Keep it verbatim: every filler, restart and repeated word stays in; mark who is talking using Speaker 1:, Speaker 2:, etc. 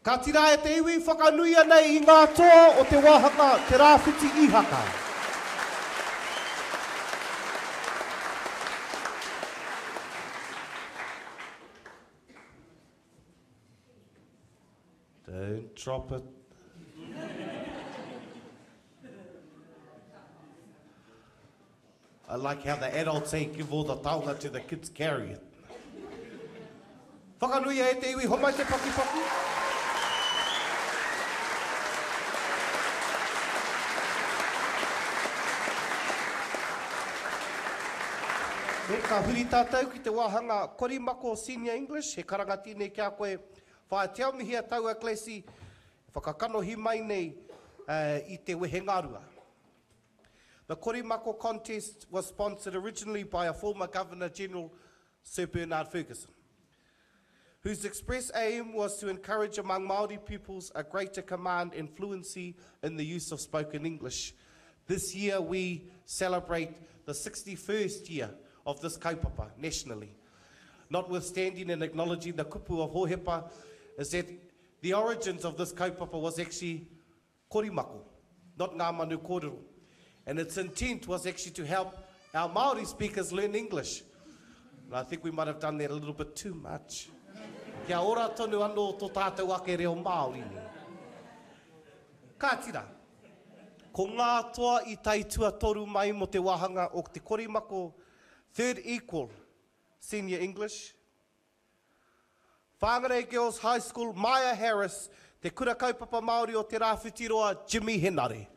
Speaker 1: Ka tira e te iwi whakanuia nei i ngā toa o te wāhanga Te Rāwhiti Ihaka. Don't drop it. I like how the adults say give all the taonga to the kids carry it. Whakanuia e te iwi, homai te pakipaki. E, ka huri tātou ki te wāhanga Korimako Senior English, he karanga tēnei ki a koe. Whaea te aumihia taua Glassy, whakakanohi mai nei uh, i te wehengarua. The Korimako contest was sponsored originally by a former Governor General, Sir Bernard Fergusson, whose express aim was to encourage among Māori pupils a greater command and fluency in the use of spoken English. This year we celebrate the sixty-first year of this kaupapa nationally. Notwithstanding and acknowledging the kupu of Hohepa, is that the origins of this kaupapa was actually korimako, not ngā manu kōrero. And its intent was actually to help our Māori speakers learn English. And I think we might have done that a little bit too much. Kia ora tonu anō tō tātou ake reo Māori nei. Ka tira, ko ngā toa i tai tuatoru mai mo te wāhanga o te korimako Third Equal Senior English, Whangarei Girls High School, Maya Harris, te kura kaupapa Māori o Te Rāwhitiroa, Jimmy Henare.